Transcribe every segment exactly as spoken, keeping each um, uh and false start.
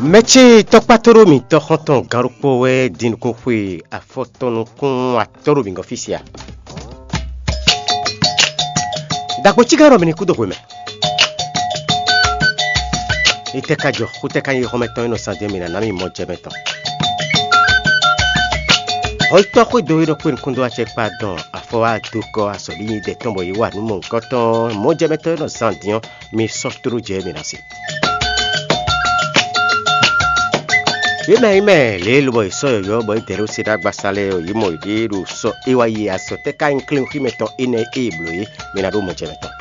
Mɛ ce tɔkpá tó ɖó mǐtɔn xɔ́ntɔn gán ɖokpó wɛ din nukún xwe afɔtɔn nukún atɔ́ ɖo mǐ gɔ́n fí sia. Dagbo cígán ɖɔ mi ní kú dó hwe mɛ. Itɛ́ ka jɔ, xutɛ́ ka nyí xɔ́mɛ tɔn e nɔ sán din mǐ ná ná mì mɔ jɛ mɛ tɔn. Hɔyítɔ́ xwédo e nɔ kpé nukún dó acɛ kpa dɔn afɔ wá dó kɔ azɔ̌ ɖi nyi dɛ tɔn bɔ yě wa nǔ mɔ̌hunkɔtɔn mɔ̌jɛmɛtɔ́ e nɔ zán din ɔ́, mi sɔ́ tló jɛ mǐ ná se. Yě mɛ nyí mɛ lě e lobɔ è sɔ́ yɔ̌yɔ́ bɔ é dɛ ɖó se ɖó agbasa lɛ́ɛ ɔ́, yě mɔ yěɖée ɖo sɔ e wá yi azɔ̌ tɛ́ ka nyí klínkúnmɛ tɔn énɛ́ e è blǒ é, mi ná ɖó mɔjɛmɛ tɔn.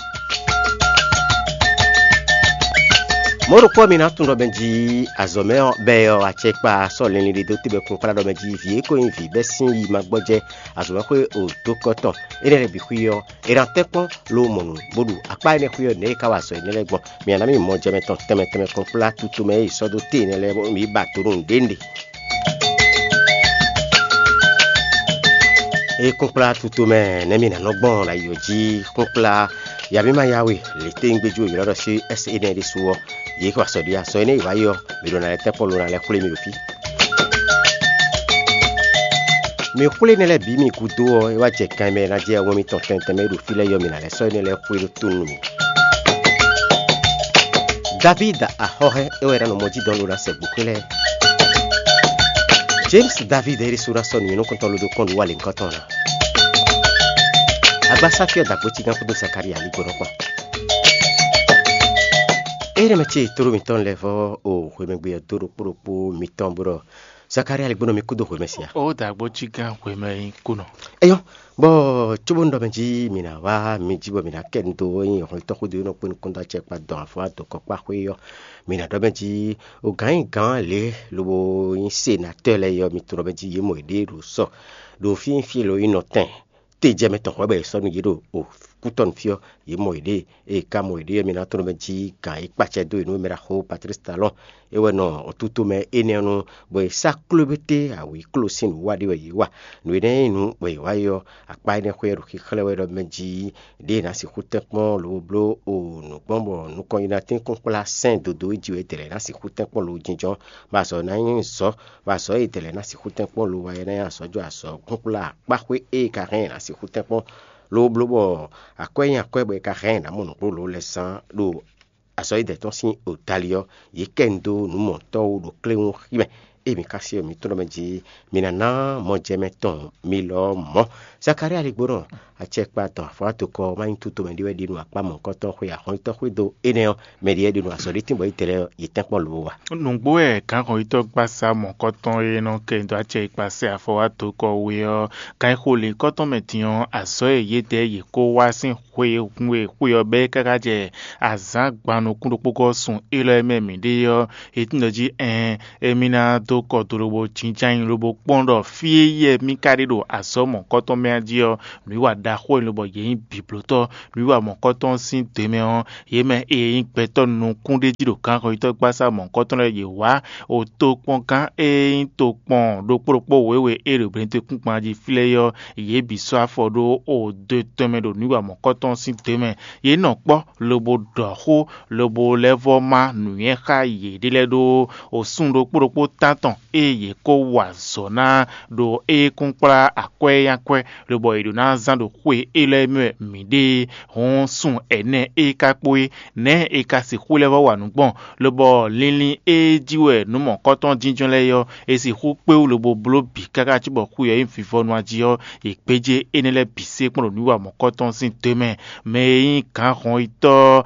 Mɔ̌ ɖokpó ɔ́, mi ná tunwun ɖɔ mɛ jí azɔ̌ mɛ ɔ́ bɛ́ ɔ́, acɛkpa sɔ́ linlin ɖé dó tébɛ́ kplɔ́nkplá ɖɔ mɛ jí vǐ e ko nyí vǐ bɛ́ sín yi ma gbɔjɛ́ azɔ̌ mɛ xwé o dó kɔ tɔn. Énɛ́ lɛ́ɛ bǐ xwí ɔ́, è nǎ tɛ́ kpɔ́n lo mɔ nǔ bó ɖu akpá énɛ́ xwí ɔ́ nɛ̌ e ka wa azɔ̌ énɛ́ lɛ́ɛ gbɔn. Mi ná mì mɔ jɛ mɛ tɔn tɛnmɛ tɛnmɛ kplɔ́nkplá tutu mɛ e è sɔ́ dó te énɛ́ lɛ́ɛ bónú mǐ yi ba do nú nǔɖé nǔɖé. Ée kúnkplá tutomɛ nɛ́ mì ná nɔ gbɔn ɖo ayi ɔ́ jí, kúnkplá ya mì ma ya we lě tɛ́ nyí gbéjú ylɔ́ ɖɔ sí ɛ́sɛ énɛ́ ɖésú ɔ́, yě xɔ azɔ̌ ɖi azɔ̌ énɛ́ e wǎ yi ɔ́, mǐ ɖo ná lɛ́ tɛ́ kpɔ́n lo ná lɛ́ xwlé mì ɖo fí. Mǐ xwlé énɛ́ lɛ́ɛ bǐ mì gúdo ɔ́, é wá jɛ kan e mɛ è nǎ jɛ wɛn mitɔn tɛnmɛ tɛnmɛ e ɖo fí lɛ́ɛ yi ɔ́, mǐ ná lɛ́ sɔ́ énɛ́ lɛ́ɛ xwé ɖó tó nú mì. Davídi axɔ́hɛ́n é wɛ è nǎ nɔ mɔ jí dɔn ló ná sɛ gbǒxwé lɛ́ɛ. James David e ɖésú ná sɔ́ nǔnywɛ́núkúntɔn ló dó kpɔ́n nǔ wa lěhunkɔtɔn ná. Agbásáfí ɔ́ da gbécígán kpódó Zakalía ligbɔnɔ kpɔn. Énɛ́ mɛ ce tlóló mitɔn lɛ́ɛ vɔ́ o hwemɛgbe ɔ́ dó ɖokpó ɖokpó mitɔn bó ɖɔ Zakalía ligbɔnɔ mi kúdó hwemɛ sia. Ó da gbécígán hwemɛ nyí kúnɔ. Eyɔ́, bɔ cóbónú ɖɔ mɛ jí mǐ ná wá mi jí bɔ mǐ ná kɛ nu dó é nyí hɔnlítɔ́ xúdo e nɔ kpé nukúnɖó acɛ kpa dɔn afɔ adokɔkpáxwé ɔ́, mǐ ná ɖɔ mɛ jí o gǎn nyi gǎn lě lobo nyí senatɔ́ lɛ́ɛ é ɔ́, mi tunwun ɖɔ mɛ jí yě mɔ yěɖée ɖo sɔ ɖo fí e nyí fí e lɔ nyí nɔtɛn te jɛ mɛ tɔn hwɛ̌ bɔ è sɔ́ nú yě ɖo kútɔ́ nú fí ɔ́, yě mɔ yěɖée. Ée è ka mɔ yěɖée ɔ́, mi ná tunwun ɖɔ mɛ jí gǎn e kpacɛ dó yě nú mɛ ɖaxó Patlísi Talɔ́ɔn é wɛ nɔ ɔ́ tútú mɛ énɛ́ ɔ́ nu, bɔ è sá kló égbé té awǐ kló sín nǔwiwa ɖé wɛ yě wa. Nǔ énɛ́ e nyí nǔ bɔ yě wa é ɔ́, akpá énɛ́ xwé ɔ́ ɖo xixlɛ́ wɛ ɖɔ mɛ jí ɖěe è nǎ sixú tɛ́nkpɔ́n lobo bló o nǔ gbɔn bɔ nukɔn yi ná tín kpɔ́n kplá sɛ́n dodó e jí wɛ è dɛ lɛ̌ ná sixú tɛ́nkpɔ́n lo jínjɔ́n, bɔ azɔ̌ ná nyí zɔ̌, bɔ azɔ̌ e è dɛ lɛ̌ ná sixú tɛ́nkpɔ́n lo wa é ná nyí azɔ̌ jó azɔ̌ kplɔ́nkplá akpá xwé e è ka hɛn è nǎ sixú tɛ́nkpɔ́n lobo bló bɔ akwɛ́ nyi akwɛ́ bɔ è ka hɛn è nǎ mɔ nǔgbó lǒ lɛ́ɛ zán ɖo azɔ̌ e dɛ̌ tɔn sín odali ɔ́, yě kɛ nu dó nǔ mɔ̌tɔn wú ɖo kléwún xí mɛ. Ée mǐ ka se ɔ́, mǐ tunwun ɖɔ mɛ jí mi ná ná mɔjɛmɛ tɔn mi lɔ ɔ́ mɔ̌. Zakalía ligbónɔ, acɛkpa tɔn afɔ́nátokɔ ɔ́ má nyí tutomɛ ɖé wɛ ɖi nú akpá mɔ̌hunkɔtɔn xwe axɔ́nyítɔ́ xwédo énɛ́ ɔ́, mɛ ɖě wɛ ɖi nǔ azɔ̌ ɖé tínbɔ Izlayɛ́li ɔ́, yě tɛ́nkpɔ́n lobo wa. Nǔgbó wɛ gǎnxɔyítɔ́ gbasá mɔ̌kɔtɔn e nɔ kɛ nyi dó acɛ e kpa sɛ afɔ wá dǒ kɔ we ɔ́, kan e xo lěhunkɔtɔn mɛ din ɔ́, azɔ̌ e yědɛɛ yě kó wá sín xwe e hun e xwe ɔ́ bɛ́ káká jɛ azǎn gban nukún ɖokpó gɔ́ sun élɔ́ e mɛ mǐ ɖe ɔ́, è tunwun ɖɔ jí ɛɛn, émí ná dó kɔ do lobo jínjɔ́n ayǐ lobo kpɔ́n ɖɔ fí e yɛ mì ka ɖe ɖo azɔ̌ mɔ̌hunkɔtɔn mɛ ɔ́ jí ɔ́, nǔwiwa ɖaxó e lobɔ yě nyí bǐblótɔ́. Nǔwiwa mɔ̌hunkɔtɔn sín dǒ mɛ ɔ́, yě mɛ e nyí gbɛtɔ́ nukúnɖéjí ɖo gǎnxɔyítɔ́ gbasá mɔ̌hunkɔtɔn lɛ́ɛ yě wá o tokpɔngán e nyí tokpɔn ɖokpó ɖokpó wěwe e ɖo Blɛ̌ntekúngban jí flɛ́ é ɔ́, yě bǐ sɔ́ afɔ ɖó o do tɔn mɛ ɖo nǔwiwa mɔ̌hunkɔtɔn sín dǒ mɛ. Yě nɔ kpɔ́ lobo ɖɔ xó, lobo lɛ́ vɔ́ má nǔnywɛ́ xá yěɖée lɛ́ɛ ɖó o súnnu ɖokpó ɖokpó tántɔn e yě kó wa azɔ̌ ná ɖo é kún kplá akwɛ́ e nyí akwɛ́, lobɔ è ɖǒ ná zán ɖo xwe élɔ́ e mɛ wɛ mǐ ɖe é. Hɔn sun ɛnɛ e ka kpo é, nɛ̌ è ka sixú lɛ́ vɔ́ wa nǔ gbɔn? Lobɔ linlin e jí wɛ nǔ mɔ̌kɔtɔn jínjɔ́n lɛ́ɛ é ɔ́, è sixú kpé wú lobo bló bǐ káká cóbɔ xwe ɔ́ nyí vivɔnu jí ɔ́, è gbéjé énɛ́ lɛ́ɛ bǐ sé kpɔ́n ɖo nǔwiwa mɔ̌kɔtɔn sín dó mɛ. Mɛ e nyí gǎnhɔnyitɔ́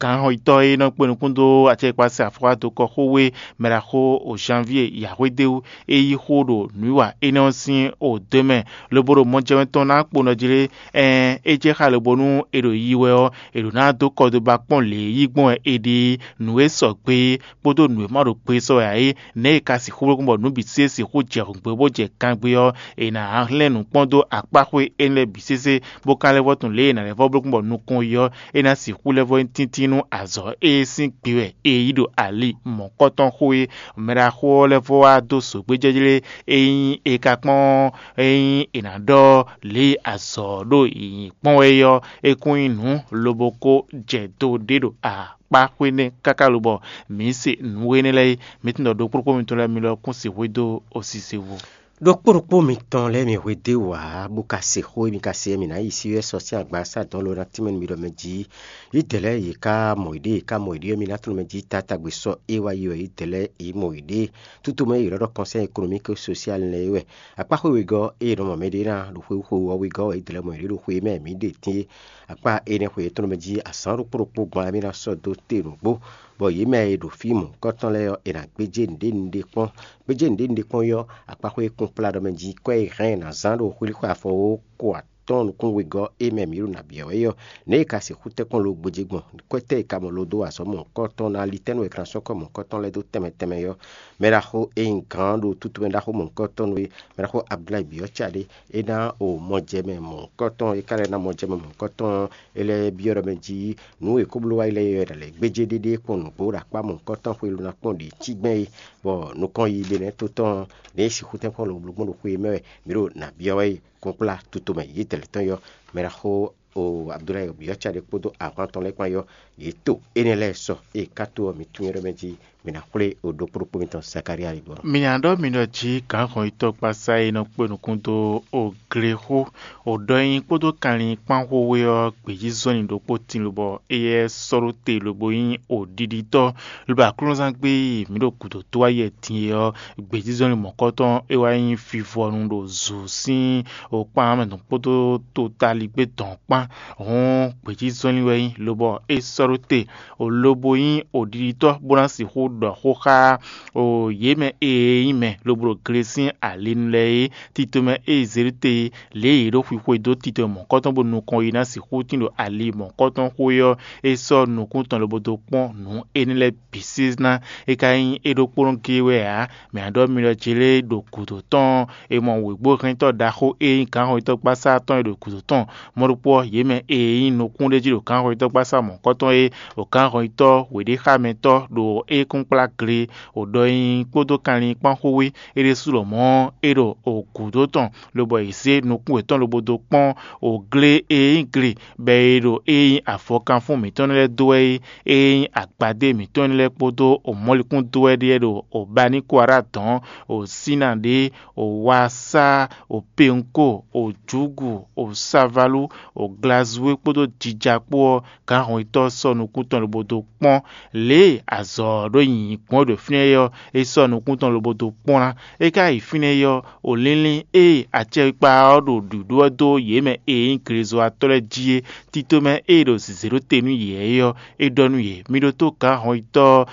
gǎnhɔnyitɔ́ e nɔ kpé nukún dó acɛkpikpa se afɔkpa dó kɔ xó wé mɛ ɖaxó o Janvier Yahwedeu e yí xó ɖo nǔwiwa énɛ́ ɔ́ sín o dó mɛ, lobo ɖo mɔjɛmɛ tɔn ná kpo nɔ jlé. Ɛɛn, é jɛ xá lobo nú è ɖo yiyi wɛ ɔ́, è ɖǒ ná dó kɔdoba kpɔ́n lě e yí gbɔn wɛ è ɖe é. Nǔ e sɔgbe é kpódó nǔ e ma ɖo gbe sɔ wɛ ǎ é, nɛ̌ è ka sixú bló gbɔn bɔ nǔ bǐ sésé sixú jɛ hǔngbé bó jɛ gangbé ɔ́, è nǎ hlɛ́n nǔ kpɔ́n dó akpáxwé énɛ́ lɛ́ɛ bǐ sésé, bó ka lɛ́ vɔ́ tunwun lě e è nǎ lɛ́ vɔ́ bló gbɔn bɔ nukɔn yi ɔ́, é ná sixú lɛ́ vɔ́ nyí tíntín nú azɔ̌ e sín gbe wɛ è yí ɖo ali mɔ̌kɔtɔn xo é. Mɛɖaxó ɔ́ lɛ́ vɔ́ wá dó zǒgbéjɛ́jlé e nyí è ka kpɔ́n é nyí è nǎ ɖɔ lě e zɔ ɖo yǐyí kpɔ́n wɛ é ɔ́, é kún nyí nǔ lobo ko jɛ do ɖé ɖo akpá xwé nɛ́ káká lobɔ mǐ se nǔ énɛ́ lɛ́ɛ é. Mǐ tunwun ɖɔ ɖokpóɖokpó mitɔn lɛ́ɛ mi lɔ kún se hwedó osise vo. Ɖokpó ɖokpó mitɔn lɛ́ɛ mi hwedó ǎ, bó ka se xó e mi ka se ɔ́, mi ná yi sí wɛ sɔ sín agba sá dɔn lo ná tínmɛ nú mi ɖɔ mɛ jí. Yídɛɛ lɛ́ɛ yě ká mɔ yěɖée, yě ká mɔ yěɖée ɔ́, mi ná tunwun mɛ jí taátagbe sɔ́ é wá yi wɛ yídɛɛ lɛ́ɛ yě mɔ yěɖée. Tútu mɛ e è nɔ ɖɔ kɔnsɛ́ ekonomík sosial lɛ́ɛ é wɛ. Akpá xwé wegɔ́ e è nɔ mɔ mɛɖé ná ɖo xwé xwe ɔ́ wegɔ́ wɛ yídɛɛ lɛ́ɛ mɔ yěɖée ɖo xwe e mɛ mǐ ɖe tín é. Akpá énɛ́ xwe yětɔn mɛ jí azǎn ɖokpó ɖokpó gbɔn ɔ́, mì ná sɔ́ dó te nǔgbó, bɔ yě mɛ e ɖo fí mɔ̌hunkɔtɔn lɛ́ɛ ɔ́, è nǎ gbéjé nǔɖé nǔɖé kpɔ́n. Gbéjé nǔɖé nǔɖé kpɔ́n ɔ́, akpáxwé kúnkplá ɖɔ mɛ jí kɔ́ e hɛn ná zán ɖo xwlíxwe afɔ ó ko atɔ́ɔ́n nukún wegɔ́ é mɛ mǐ ɖo nǎ byɔ́ wɛ é ɔ́, nɛ̌ è ka sixú tɛ́nkpɔ́n lo gbéjé gbɔn? Kwɛ́ tɛ́ è ka mɔ lo dó wa azɔ̌ mɔ̌hunkɔtɔn ná litɛ́nú e è ka ná sɔ́ kɔ́ mɔ̌hunkɔtɔn lɛ́ɛ dó tɛnmɛ tɛnmɛ é ɔ́? Mɛ ɖaxó e nyí gǎn ɖo tútu mɛ ɖaxó mɔ̌hunkɔtɔn nú é, mɛ ɖaxó Abdulayi byɔ́ ca ɖé, é ná o mɔjɛmɛ mɔ̌hunkɔtɔn, é ka lɛ́ ná mɔjɛmɛ mɔ̌hunkɔtɔn ɔ́, é lɛ́ byɔ́ ɖɔ mɛ jí nǔ e kó bló wá yi lɛ́ɛ é wɛ ɖo lě gbéjé ɖéɖé kpɔ́n nǔgbó ɖo akpá mɔ̌hunkɔtɔn xwé lo ná kpɔ́n ɖě cí gbɛ́n é, bɔ nukɔn yi ɖe nɛ́ tó tɔn ɔ́, nɛ̌ é sixú tɛ́nkpɔ́n lo bló gbɔn ɖo xwe e mɛ wɛ mǐ ɖo nǎ byɔ́ wɛ é. Kpɔ́nkplá tutomɛ yětɛn tɔn yɔ mɛ ɖaxó o Abdulayi byɔ́ ca ɖé kpódó ahwan tɔn lɛ́ɛ kpán yɔ, yě to énɛ́ lɛ́ɛ sɔ ée ká tó ɔ́, mǐ tunwun ɖɔ mɛ jí mǐ ná xwlé o ɖokpó ɖokpó mitɔn Zakalía yi gbɔn. Mi nya ɖɔ mi ɖɔ jí gǎnhɔnyitɔ́ kpásá e nɔ kpé nukún dó o glexó, o ɖɔ nyi kpódó kanlin kpán xwé ɔ́ gbějízɔ́nlin ɖokpó tin lobɔ éyɛ́ sɔ́ ɖó te lobo nyí o ɖiɖitɔ́, lobo aklúnɔzán gbé e mǐ ɖo gǔdo dó wá yɛ din é ɔ́, gbějízɔ́nlin mɔ̌kɔtɔn é wá nyí vivɔnu ɖo zǔ sín o kpán mɛ tɔn kpódó totaligbé dɔn kpán. Hɔn gbějízɔ́nlin wɛ nyí lobɔ é sɔ́ ɖó te, o lobo nyí o ɖiɖitɔ́ bó ná sixú ɖɔ xó xá o yě mɛ e nyí mɛ lobo ɖo gle sín ali nu lɛ́ɛ é. Tito mɛ e zě ɖó te lě e yě ɖo xwixwe dó tito mɔ̌kɔtɔn bó nukɔn yi ná sixú tín ɖo ali mɔ̌kɔtɔn xwé ɔ́, é sɔ́ nukún tɔn lobo dó kpɔ́n nǔ énɛ́ lɛ́ɛ bǐ sí ná. É ka nyí é ɖokpónɔ géé wɛ ǎ. Mǐ ná ɖɔ mi ɖɔ Jelée ɖo gǔdo tɔn e mɔ wěgbóhɛntɔ́ ɖaxó e nyí gǎnhɔnyitɔ́gbasá tɔn e ɖo gǔdo tɔn mɔ̌ ɖokpó ɔ́, yě mɛ e nyí nukún ɖé jí ɖo gǎnhɔnyitɔ́gbasá mɔ̌kɔtɔn é, ɖo gǎnhɔnyitɔ́ wěɖéxámɛtɔ́ ɖo é kúnkplá gle, ɖɔ nyi kpódó kanlin kpán xwé é ɖésú lɔmɔ̌ é ɖo gǔdo tɔn, lobɔ è zě nukún yětɔn lobo dó kpɔ́n gle e nyí gle bɔ è ɖo e nyí avɔkanfún mǐtɔn lɛ́ɛ dó wɛ é, e nyí agbadé mǐtɔn lɛ́ɛ kpódó mɔ̌likún dó wɛ ɖíe ɖo Baníkwara dɔ̌n, Sína ɖě, Wasá, Pɛnko, Jǔgu, Savalú, Glazue kpódó jija kpó ɔ́, gǎnhɔnyitɔ́ sɔ́ nukún tɔn lobo dó kpɔ́n lě e azɔ̌ ɔ́ ɖo nyi gbɔn ɖo fínɛ́ é ɔ́, é sɔ́ nukún tɔn lobo dó kpɔ́n ná. É ka yi fínɛ́ é ɔ́, o línlín e acɛkpikpa ɔ́ ɖo ɖǔɖú ɔ́ dó yě mɛ e nyí glezɔ́watɔ́ lɛ́ɛ jí é, tito mɛ e ɖo zǐzé ɖó te nú yě é ɔ́, é ɖɔ nú yě: Mi ɖótó gǎnhɔnyitɔ́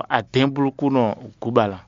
adɛ̌nblúkúnɔ Gubala.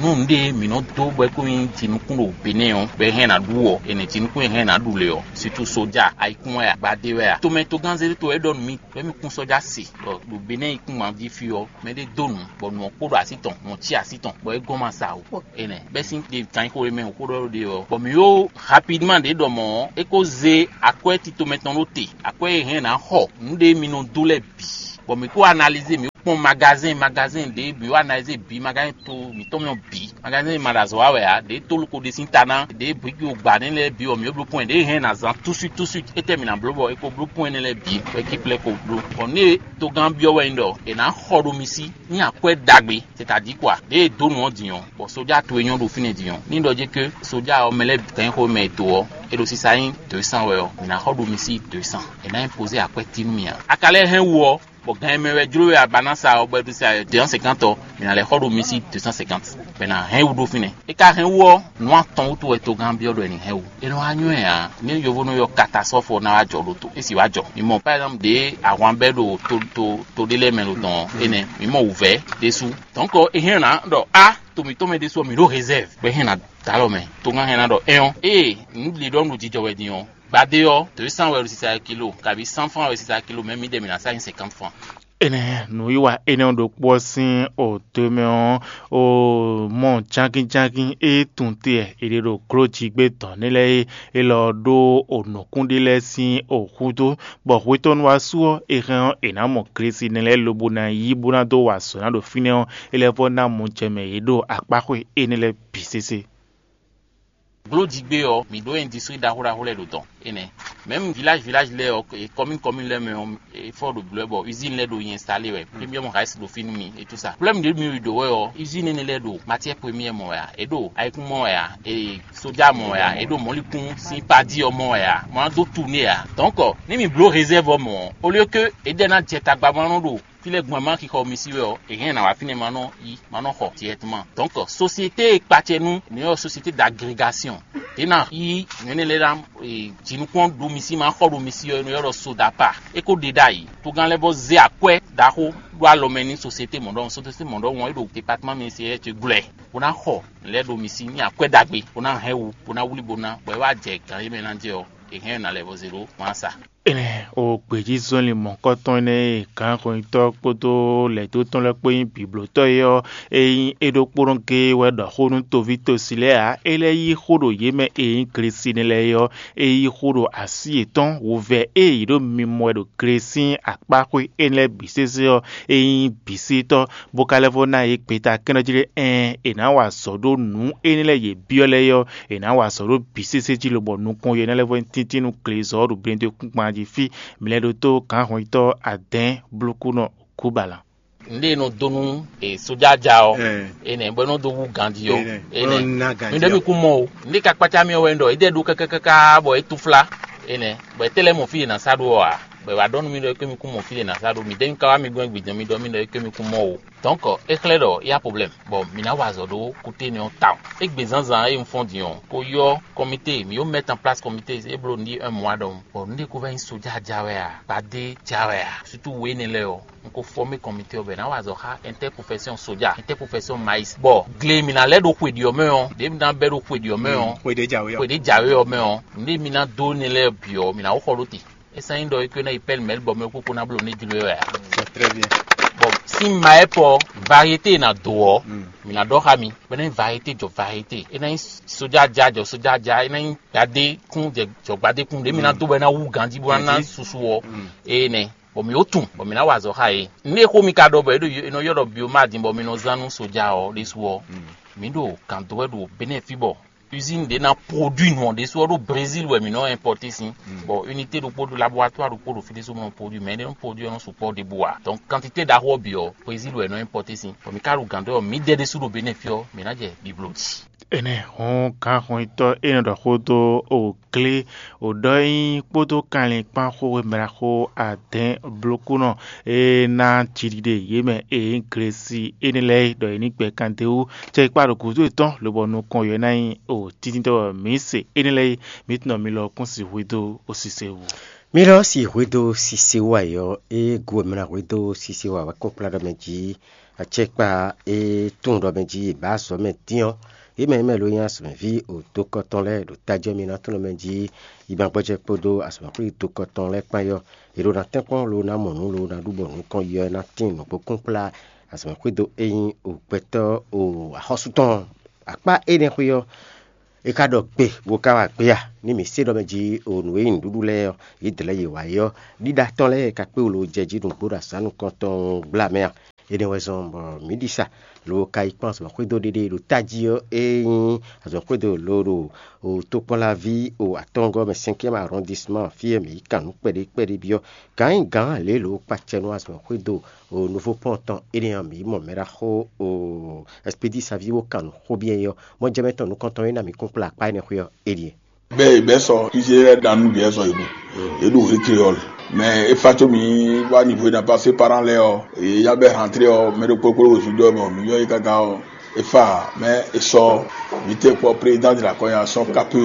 Nú nǔɖé mǐ nɔ dó bɔ é kó nyí jinukún ɖo Benɛ́ɛ ɔ́, bɔ é hɛn ná ɖu ɔ́, è nɛ jinukún e hɛn ná ɖu lě ɔ́, situ soja, ayikún wɛ a, gbadé wɛ a, tomɛ togán zé tó é ɖɔ nú mì, bɔ mì kún sɔ́ja se ɖɔ ɖo Benɛ́ɛ yíkúngban jí fí ɔ́, mɛɖé dó nǔ, bɔ nǔ ɔ́ kpo ɖo así tɔn, nǔ ɔ́ cí así tɔn, bɔ é gɔ́n ma sa o. Énɛ́ bɛ́ sín ɖe kan xó e mɛ xó ɖɔ ɖe ɔ́, bɔ mǐ ɖó rapidman ɖě ɖɔ mɔ̌ ɔ́, é kó zé akwɛ́ tito mɛtɔn ɖó te, akwɛ́ e hɛn ná xɔ nǔɖé mi nɔ dó lɛ́ɛ bǐ, bɔ mǐ kó analizé, mǐ kpɔ́n magazɛ́n magazɛ́n ɖě, mǐ wá analizé bǐ, magazɛ́n to mǐtɔn mɛ bǐ, magazɛ́n ma ɖo azɔ̌ wa wɛ ǎ, ɖě tolú ko ɖe sín ta ná, ɖě briki wo gbǎ nɛ́ lɛ́ɛ bǐ, bɔ mǐ bló pɔ́n ɖě hɛn ná zán túswi túswi, étɛ́ mǐ ná bló bɔ é ko bló pɔ́n énɛ́ lɛ́ɛ bǐ, bɔ é cí plɛ́ ko bló. Bɔ nú e togán byɔ́ wɛ nyí ɖɔ è nǎ xɔ ɖo mi sí, nyí akwɛ́ ɖagbe, c'est-à-dire quoi, ɖě e dó nǔ ɔ́ din ɔ́, bɔ sójà towe nyɔ́ ɖo fínɛ́ din ɔ́, ní ɖɔ jɛ́n ké sójà ɔ́ mɛ lɛ́ɛ bǐ kɛn xó mɛ e do ɔ́, é ɖo sisa nyí deux cents wɛ ɔ́, mǐ ná xɔ ɖo mi sí deux cents. È nǎ nyí pozé akwɛ́ tí nú mì ǎ. A ka lɛ́ hɛn wú ɔ́, bɔ gan e mɛ wɛ jló we a ba ná sa ɔ́, bɔ è ɖo sa deux cent cinquante ɔ́, mǐ ná lɛ́ xɔ ɖo mi sí deux cent cinquante, bɔ è nǎ hɛn wú ɖó fínɛ́. É ka hɛn wú ɔ́, nǔ atɔn wútu wɛ togán byɔ́ ɖɔ è nǐ hɛn wú. É nɔ wá nyɔ́ ɛ ǎ, nú yovónɔ ylɔ́ catastrophe ná wá jɔ ɖo to, é sì wá jɔ. Mi mɔ par exemple ɖě ahwan bɛ́ ɖo to to to ɖé lɛ́ɛ mɛ ɖo tɔn ɔ́, énɛ́ mi mɔ wǔvɛ́ ɖésú. Donc é hɛn ná ɖɔ a to mǐtɔn mɛ ɖésú ɔ́, mǐ ɖó réserve, bɔ é hɛn ná dó alɔ mɛ. Togán hɛn ná ɖɔ ɛn ɔ́, ée nǔ ɖě ɖɔ nǔ jijɔ wɛ din ɔ́, gbadé ɔ́, deux cents wɛ ɖo sisa kilo, kabi cent francs wɛ sisa kilo, mɛ mi ɖe mǐ ná sa nyi cinquante francs. Énɛ́ nǔwiwa énɛ́ ɖokpó ɔ́ sín oto mɛ ɔ́, o mɔ jangínjangín e tunwun te wɛ è ɖe ɖo glójigbé dɔ̌n nɛ́ lɛ́ɛ é, élɔ́ ɖó onǔkún ɖé lɛ́ɛ sín oxúdó, bɔ hwetɔ́nu wá su ɔ́, è hɛn ɔ́, è nǎ mɔ glesi nɛ́ lɛ́ɛ lobo ná yí bó ná dó wa azɔ̌ ná ɖo fínɛ́ ɔ́, é lɛ́ vɔ́ ná mɔjɛmɛ yě ɖo akpáxwé énɛ́ lɛ́ɛ bǐ sésé. Bló jigbe ɔ́, mǐ ɖó industrie ɖaxó ɖaxó lɛ́ɛ ɖo dɔn énɛ́. Même village village lɛ́ɛ ɔ́, e commune commune lɛ́ɛ mɛ ɔ́, e fɔ ɖo blɔ̌ bɔ usine lɛ́ɛ ɖo nyi installé wɛ. Premium rice ɖo fínú mi et tout ça. Problème ɖé mi ɖo wɛ ɔ́, usine énɛ́ lɛ́ɛ ɖo matière première mɔ wɛ a? E ɖo ayikún mɔ wɛ a? E soja mɔ wɛ a? E ɖo mɔlikún sín padi ɔ́ mɔ wɛ a? Mɔ ná dó tourner a? Donc, ní mi bló réserve ɔ́ mɔ ɔ́, au lieu que e ɖɛ ná jɛ tagba ma nɔ ɖo fí lɛ́ɛ gbɔn ma xixɔ mi sí wɛ ɔ́, è hɛn ná wá fínɛ́ ma nɔ yi, ma nɔ xɔ directement. Donc, société e kpacɛ nú nǔ ɔ́, société d'agrégation ɖě ná yí nǔ énɛ́ lɛ́ɛ ná jinukún ɖo mi sí, ma xɔ ɖo mi sí ɔ́, è nɔ ylɔ́ ɖɔ sodapa. É ko ɖe ɖ'ayǐ, togán lɛ́ɛ vɔ zé akwɛ́ ɖaxó ɖó alɔ mɛ nú société mɔ̌ ɖɔhun. Société mɔ̌ ɖɔhun ɔ́, é ɖo département ministériel ce glɔ́ ɛ, bó ná xɔ nǔ lɛ́ɛ ɖo mi sí ní akwɛ́ ɖagbe, bó ná hɛn wú, bó ná wlí, bó ná, bɔ é wá jɛ gǎn e mɛ ná jɛ ɔ́, è hɛn ná lɛ́ vɔ zé ɖó ma sa. Énɛ́ o gbějízɔnlin mɔ̌hunkɔtɔn énɛ́ e gǎnhwɛntɔ́ kpódó lɛ̌dó tɔn lɛ́ɛ kpó nyí bǐblótɔ́ é ɔ́, ényí é ɖokpónɔ géé wɛ ɖɔ xó nú toví tosi lɛ́ɛ ǎ, é lɛ́ yí xó ɖo yě mɛ e nyí Glesíni lɛ́ɛ é ɔ́, é yí xó ɖo así yětɔn wovɛ́ e yě ɖo mimɔ wɛ ɖo Glesín akpáxwé énɛ́ lɛ́ɛ bǐ sésé ɔ́, é nyí bǐsítɔ́, bó ka lɛ́ vɔ ná yě gbeta kɛ́nɖɔ́ jí ɖé ɛɛn, è nǎ wa azɔ̌ ɖó nǔ énɛ́ lɛ́ɛ yě byɔ́ lɛ́ɛ é ɔ́, è nǎ wa azɔ̌ ɖó bǐ sésé jí lobɔ nukɔn yě ná lɛ́ vɔ nyí tíntín nú glezɔ́ ɖo blɛ́ndó kúnkpan jí fí. Mlɛɖótó gǎnhwɛntɔ́ adɛ̌ɛn blókúnɔ Gúbalan. Nɖé e nɔ dó nú e sójá ja ɔ́, enɛ bɔ é nɔ dó wú ganjí ɔ́, enɛ mi ɖo mi kún mɔ o. Nɖé ka kpácá mi ɔ́ wɛ un ɖɔ é ɖɛ ɖó kákákáká bɔ é túflá enɛ, bɔ é tɛ́ lɛ́ mɔ fí e nǎ sá ɖó ɔ́ ǎ, bɔ è wǎ ɖɔ nú mi ɖɔ é ké mi kún mɔ fí e nǎ sá ɖó mi ɖɛ́ mi ka wá mi gbɔn gbǐdɔn mi ɖɔ mi ɖɔ é ké mi kún mɔ o. Donc é xlɛ́ ɖɔ é yá problème, bɔ mǐ ná wa azɔ̌ ɖó kúté nɛ́ ɔ́ tawun. Égbé zǎnzǎn e un fɔ́n din ɔ́, ko ylɔ́ kɔmité, mǐ yó mettre en place kɔmité e bló nǔɖé un mois ɖɔhun, bɔ nǔɖé ko vɛ́ nyí sójá ja wɛ a, gbadé ja wɛ a, surtout we énɛ́ lɛ́ɛ ɔ́, un ko fɔ́mé kɔmité ɔ́ bɔ è nǎ wa azɔ̌ xá interprofession sójá, interprofession maïs, bɔ gle e mǐ ná lɛ́ ɖo xwe ɖi ɔ́ mɛ ɔ́, ɖě mǐ ná bɛ́ ɖo xwe ɖi ɔ́ mɛ ɔ́, xwe ɖě jǎwe ɔ́, xwe ɖě jǎwe ɔ́ mɛ ɔ́, nǔɖé mǐ ná dó nɛ́ lɛ́ɛ bǐ ɔ́, mǐ ná xɔ ɖó te. É sɔ́ nyí ɖɔ é ko ná yi pɛ́lú mɛ̌ bɔ mɛ kúkú ná bló ní jló wɛ ǎ. C'est très bien. Bon, sín ma ɛ pɔ variété e nǎ dó ɔ́, mǐ ná ɖɔ xá mi, bɔ é ná nyí variété jɔ variété, é ná nyí sójá ja jɔ sójá ja, é ná nyí gbadé kún jɛ jɔ gbadé kún, ɖě mǐ ná dó bɔ é ná wú ganjí bó ná ná susu ɔ́, énɛ́, bɔ mǐ ó tunwun, bɔ mǐ ná wa azɔ̌ xá yě. Nú é xó mi ka ɖɔ bɔ é ɖo é nɔ ylɔ́ ɖɔ biomá din bɔ mi nɔ zán nú sójá ɔ́ ɖésú ɔ́, mǐ ɖo gǎn dó wɛ ɖo Benɛ́ɛ fí bɔ usine ɖé ná produit nǔ ɔ́ ɖésú ɔ́ ɖo Brésil wɛ mǐ nɔ importer sín. Bɔ unité ɖokpó ɖo laboratoire ɖokpó ɖo fí ɖésú mɔ produit, mɛ ɖé nɔ produit ɔ́ nɔ sukpɔ́ ɖěbǔ ǎ. Donc quantité ɖaxó ɔ́ bǐ ɔ́, Brésil wɛ nɔ importer sín. Bɔ mǐ ka ɖo gǎn dó ɔ́, mǐdɛɛ ɖésú ɖo Benɛ́ɛ fí ɔ́, mǐ ná jɛ bibló jí. Énɛ́ hɔn gǎnhɔntɔ́ e nɔ ɖɔ xó dó o glé o ɖɔ nyi kpódó kanlin kpán xó e mɛ ɖaxó adɛ̌ɛn blókúnɔ e ná jiɖiɖe yě mɛ e nyí Glesi énɛ́ lɛ́ɛ é ɖɔ yě ní gbɛ kan d'é wú. Cɛ yi kpa ɖo gǔdo yětɔn lobɔ nukɔn yě ná nyí o títí tɔ́ wɛ mǐ se énɛ́ lɛ́ɛ é, mǐ tunɔ mi lɔ kún si hwedó o sise wú. Mi lɔ si hwedó sise wú ayɔ é gu e mɛ ná hwedó sise wú awɛ kún kplá ɖɔ mɛ jí acɛkpa e tunwun ɖɔ mɛ jí bǎ azɔ̌ mɛ dín ɔ́, yě mɛ e mɛ lo nyí azɔ̌mɛví o dokɔ tɔn lɛ́ɛ ɖo tajɔ mi ná tunwun mɛ jí yi ma gbɔjɛ kpódó azɔ̌mɛxwé dokɔ tɔn lɛ́ɛ kpán yɔ, è ɖo ná tɛ́nkpɔ́n lo ná mɔ nǔ lo ná ɖu bɔ nukɔn yɔ ná tín nǔgbó kún kplá azɔ̌mɛxwé do e nyí o gbɛtɔ́ o axɔ́sú tɔn akpá énɛ́ xwé ɔ́. É ka ɖɔ gbe bó ka wá gbé a? Ní mǐ se ɖɔ mɛ jí o nǔ e nyí nǔɖuɖu lɛ́ɛ ɔ́, yě dlɛ̌ yě wá é ɔ́, ɖíɖá tɔn lɛ́ɛ ka kpé wú lo jɛ jí nǔgbó ɖo azǎn nukɔntɔn gbla mɛ a? Énɛ́ wɛ zɔ́n bɔ mǐ ɖi sa lo ka yi kpɔ́n azɔ̌mɛxwédo ɖéɖé ɖo tají ɔ́, é nyí azɔ̌mɛxwédo lo ɖo o tokpɔnlaví o atɔngɔ́ mɛ cinquième arrondissement fí e mǐ yi kan nǔ kpɛɖé kpɛɖé byɔ́. Gǎn nyí gǎn lě lo kpacɛ nú azɔ̌mɛxwédo o nouveau pont tɔn énɛ́ ɔ́, mǐ mɔ mɛ ɖaxó o Expédit Savio kan nǔ xó byɔ́ é ɔ́, mɔjɛmɛ tɔn nukɔntɔn e ná mǐ kún kplá akpá énɛ́ xwé ɔ́, é ɖíe. Bɛ bɛ sɔ ize lɛ dan nu biɛ sɔ ibu. Eɖo hé créole. Mais efa tso mi wa niveau na passé parent lɛ ɔ, ya bɛ rentré ɔ, mɛ ɖo kpokplo wo zudɔ mɔ mi yɔ yi kaka ɔ. Efa mais esɔ mi te kpɔ président de la coordination kape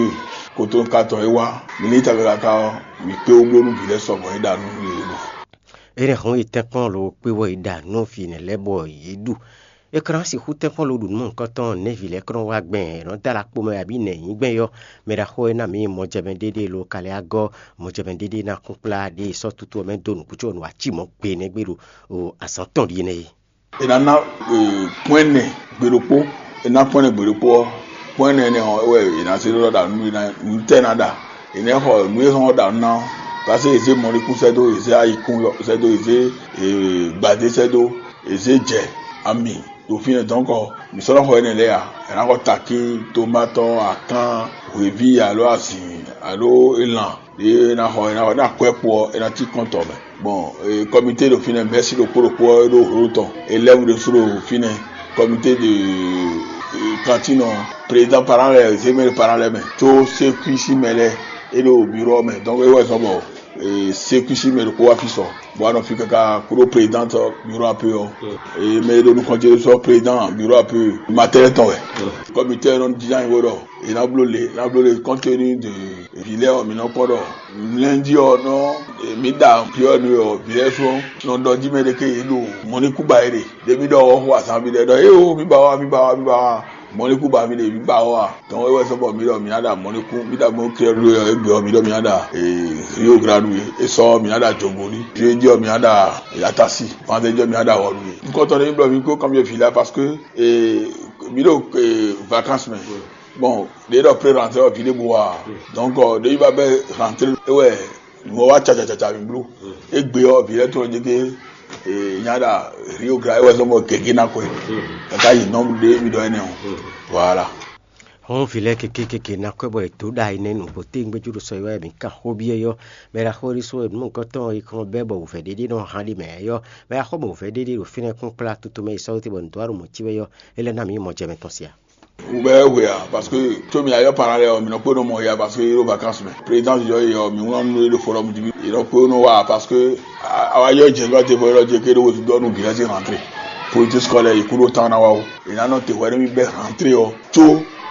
koto katɔ e wa mi ni ta kaka ɔ, mi kpe wo blonu bi lɛ sɔ bɔ e da nu ye lo. Ene hɔn yi tɛnkpɔn lo kpe wɔ yi da nu fi ne lɛ bɔ ye ɖu. E kran sixú tɛnkpɔn lo ɖu nú mɔ̌hunkɔtɔn nɛvi lɛ́ɛ kɔn wá gbɛn nɔ da la kpo mɛ abi nɛ nyi gbɛn yɔ. Mɛ ɖaxó e ná mi mɔjɛmɛ ɖéɖé lo kalɛ agɔ mɔjɛmɛ ɖéɖé ná kún kplá ɖe sɔ tutu mɛ do nukútsɔ nu aci mɔ gbe nɛ gbe ɖo o azɔn tɔn ɖi nɛ. E ná ná pɔn ɛnɛ gbe ɖokpó. E ná pɔn ɛnɛ gbe ɖokpó ɔ, pɔn ɛnɛ ɛnɛ ɔ wɛ e ná se ɖɔ ɖa nu e ná nu tɛ ná ɖa. E ná xɔ nu e xɔ ɖa nu ná ɔ, parce que e zé mɔlikún sɛ́ dó, e zé ayikún sɛ́ dó, e zé gbadé sɛ́ dó, e zé jɛ ami Ɖo fínɛ́ dɔ̌nkɔ, mǐ sɔ́ nɔ xɔ énɛ́ lɛ́ɛ a? È nǎ xɔ takín, tomatɔ, akán, hweví alo azǐn alo elan ɖě è nǎ xɔ, è nǎ xɔ ní akwɛ́kpo ɔ́, è nǎ cí kɔ́ntɔn mɛ. Bon, kɔmité ɖo fínɛ́, mɛ̌si ɖokpó ɖokpó ɔ́ ɖó hlo tɔn, élève ɖésú ɖo fínɛ́, kɔmité de kantine ɔ́, président parent lɛ́ɛ, zémɛ parent lɛ́ɛ mɛ, có sékwísi mɛ lɛ́ɛ é ɖo biro ɔ́ mɛ, donc é wɛ zɔ́n bɔ sékwísi mɛ ɖokpó wá fí sɔ, bɔ wá nɔ fí káká kúɖó président tɔn biro ape ɔ́. Mɛ e ɖo nukɔn ce sɔ président biro ape matɛrɛ tɔn wɛ. Kɔmité ɔ́ nɔ jínjɔ́n ayǐ bó ɖɔ è nǎ bló le, è nǎ bló le compte tenu de vǐ lɛ́ɛ ɔ́, mǐ nɔ kpɔ́ ɖɔ lundi ɔ́ nɔ mǐ ɖa piɔ́nu ɔ́, vǐ lɛ́ɛ sɔ́ nɔ ɖɔ jí mɛ ɖé ké yě ɖo mɔ̌ ní kú ba é ɖe. Ɖě mǐ ɖɔ ɔ́ xo azǎn mǐ ɖɛ ɖɔ éewo mǐ ba wá, mǐ ba wá, mǐ ba wá. Mɔ̌ ní kú ba mǐ ɖe, mǐ ba wá. Dɔn é wɛ sɔ́ bɔ mǐ ɖɔ mǐ ná ɖa mɔ̌ ní kú, mǐ ɖa mɔ̌ ní kú ɔ́ ɖo égbé ɔ́, mǐ ɖɔ mǐ ná ɖa Rio Grande. É sɔ́ mǐ ná ɖa Jogoli. Jeudi ɔ́ mǐ ná ɖa Yatasi. Vandredi ɔ́ mǐ ná ɖa Wɔlu. Nukɔntɔn ɖé mǐ blɔ mǐ kó kanbyɔ́ vǐ lɛ́ɛ parce que mǐ ɖo vacances mɛ. Bon, ɖě ɖɔ pré rentrée ɔ́, vǐ ɖěbǔ wá ǎ. Donc ɖěbǔ ba bɛ́ rentrée é wɛ nǔ ɔ́ wá cacacaca mǐ bló. Égbé ɔ́, vǐ lɛ́ɛ tɔn jɛ gé nya ɖa Rio Grande é wɛ zɔ́n bɔ gěgé ná xwɛ. Kaka yi nɔ́ ɖé mì ɖɔ énɛ́ ɔ́. Voilà. Hɔn vǐ lɛ́ɛ kékékéké ná kwɛ́ bɔ è dǒ ɖa yi nɛ́ nǔgbó tégbéjú ɖo sɔ yi wɛ mǐ kan xó byɔ́ yɔ́. Mɛ ɖaxó ɖé sú nǔmɔ̌kɔ́tɔn e kɔn bɛ́ bɔ wǔvɛ́ ɖé ɖé nɔ han ɖi mɛ yɔ́. Mɛ ɖaxó bɔ wǔvɛ́ ɖé ɖé ɖo fínɛ́ kpɔ́n kplá toto mɛ yi sɔ́ wú te bɔ nǔ dó wá ɖo mɔ̌ cí wɛ yɔ́. É lɛ́ ná mǐ yi mɔ jɛ mɛ tɔn sia. Wǔ bɛ́ hwe ǎ, parce que có mǐ ayɔ́ parán lɛ́ɛ ɔ́, mǐ nɔ kpé nɔ mɔ ya, parce que yě ɖo vacances mɛ. Présidence yɔ́ yi ɔ́, mǐ wlán nú yě ɖo forum jí, yě nɔ kpé nɔ wá ǎ, parce que a wá yɔ́ jɛ gɔ́ te bɔ é ɖɔ jɛ ké ɖó wezun dɔ́ nú vǐ lɛ́ɛ sín rentrée. Politique scolaire yi kúɖó tán ná wá ó. È nǎ nɔ te hwɛ nú mì bɛ́ rentrée ɔ́, có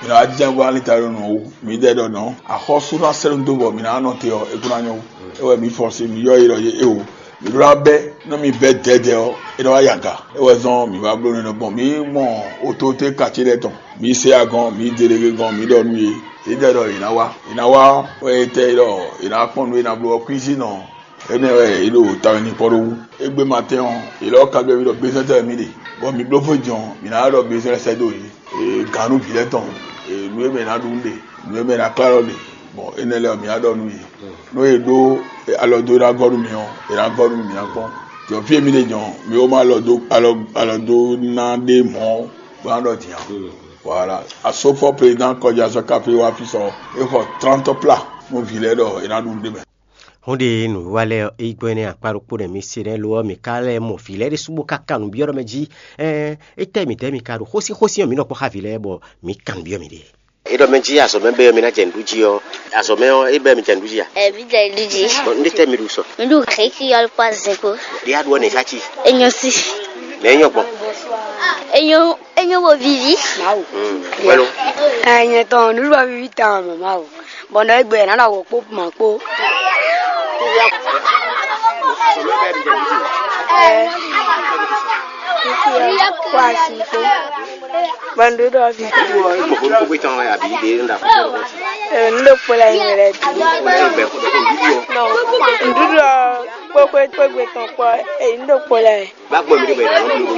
mǐ nɔ wá jínjɔ́n bó wá lin ta ɖo nǔ ɔ́ wú. Mǐdɛɛ ɖɔ nɔ̌, axɔ́sú ná sɛ́ nú dó bɔ mǐ ná nɔ te ɔ́, é kún ná nyɔ́ wú. É wɛ mǐ fɔ́n sín mǐ yɔ́ yi ɖɔ yé é o. Mǐ ɖó ná bɛ́ nú mì bɛ́ dɛ̌dɛ̌ ɔ́, é nɔ wá yi aga. É wɛ zɔ́n mǐ wá bló nú énɛ́ gbɔn. Mǐ mɔ ototé kacé lɛ́ɛ tɔn. Mǐ se agɔn, mǐ delege gɔn, mǐ ɖɔ nú yě. Yě ɖɔ ɖɔ yě ná wá. Yě ná wá wɛ é tɛ ɖɔ yě ná kpɔ́n nǔ e è nǎ bló ɔ́ kwín sín nɔ. Énɛ́ wɛ yě ɖo tawɛ nyi kpɔ́ ɖó wú. Égbé ma tɛ́n ɔ́, yě lɛ́ wá kanbyɔ́ mì ɖɔ gbezɛ́n tɛ́ wɛ mì ɖe, bɔ mǐ bló fó jɔn, mǐ ná ɖɔ gbezɛ́n lɛ́ɛ sɛ́ dó yě. Gǎn nú vǐ lɛ́ɛ tɔn, nǔ e mɛ è nǎ ɖu nú ɖe, nǔ e mɛ è nǎ klá lɔ ɖe. Bɔ énɛ́ lɛ́ɛ ɔ́, mǐ ná ɖɔ nú yě. Nú è ɖó alɔ dó ná gɔ́ nú mì ɔ́, è nǎ gɔ́ nú mì, mǐ ná kpɔ́n. Jɔ fí e mì ɖe jɔn, mǐ ó má alɔ dó alɔ alɔ dó ná ɖé mɔ̌ bó ná ɖɔ din ǎ. Voilà. Asofɔ président kɔjá sɔ káfí wá fí sɔ, é xɔ trente plats nú vǐ lɛ́ɛ ɖɔ è nǎ ɖu nú ɖé mɛ. Hɔn ɖe nǔwiwa lɛ́ɛ ɔ́, é gbɔn énɛ́ akpá ɖokpó nɛ́ mi se nɛ́ lo ɔ́, mǐ ka lɛ́ mɔ vǐ lɛ́ɛ ɖésú bó ka kan nǔ byɔ́ ɖɔ mɛ jí. Ɛɛ, étɛ́ mǐtɛ́ mi ka ɖo xósíxósí ɔ́, mǐ nɔ kpɔ́ xá vǐ lɛ́ɛ bɔ mǐ kan nǔ byɔ́ mǐɖée. É ɖɔ mɛ jí azɔ̌ mɛ bɛ́ ɔ́, mi ná jɛ nǔɖuɖu jí ɔ́, azɔ̌ mɛ ɔ́, é bɛ́ mi jɛ nǔɖuɖu jí a? Ɛ, mǐ jɛ nǔɖuɖu jí. Bɔ nú ɖé tɛ́ mi ɖu sɔ? Mǐ ɖu xěxí ɔ́ kpó azin kpó. Ɖé a ɖu ɔ́ nɛ̌ sá cí? É nyɔ́ sí. Nɛ̌ é nyɔ́ gbɔn? É nyɔ́, é nyɔ́ bo víví. Mawu. Wɛ́lo. Ɛ, nyɛ tɔn nǔɖuɖu ɔ́ víví tawun mɛ Mawu. Bɔ nɔ égbé ná nɔ wǒ kpó mǎ kpó. Ɛ, kó asi kpó. Bɔ nǔɖuɖu ɔ́ fi. Gbogbo gbogbo tɔn wɛ àbí ɖe ń da fún un. Ɛ, nǔɖuɖu kpó la yín wɛ lɛ dùn. Nǔɖuɖu ɔ́ kpó kpé kpé gbé tɔn kpó, ɛ, nǔɖuɖu kpó la yín. Bá gbọ́ mi dé bẹ̀rẹ̀ lọ́wọ́ mi lógo.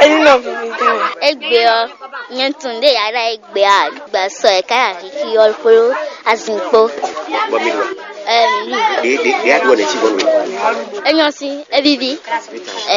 Ẹni náà fi fi tán. Egbe ɔ, nyɛ tun ɖe yàrá egbe a, gbà sɔ ɛ káyà kiki ɔ kpó azin kpó. Bọ́ mi dùn. Ɛ mi. Ɖe ɖe ɖe aɖu ɔnɛ tsi bɔ mi. Enyɔ si, evivi. Ɛ.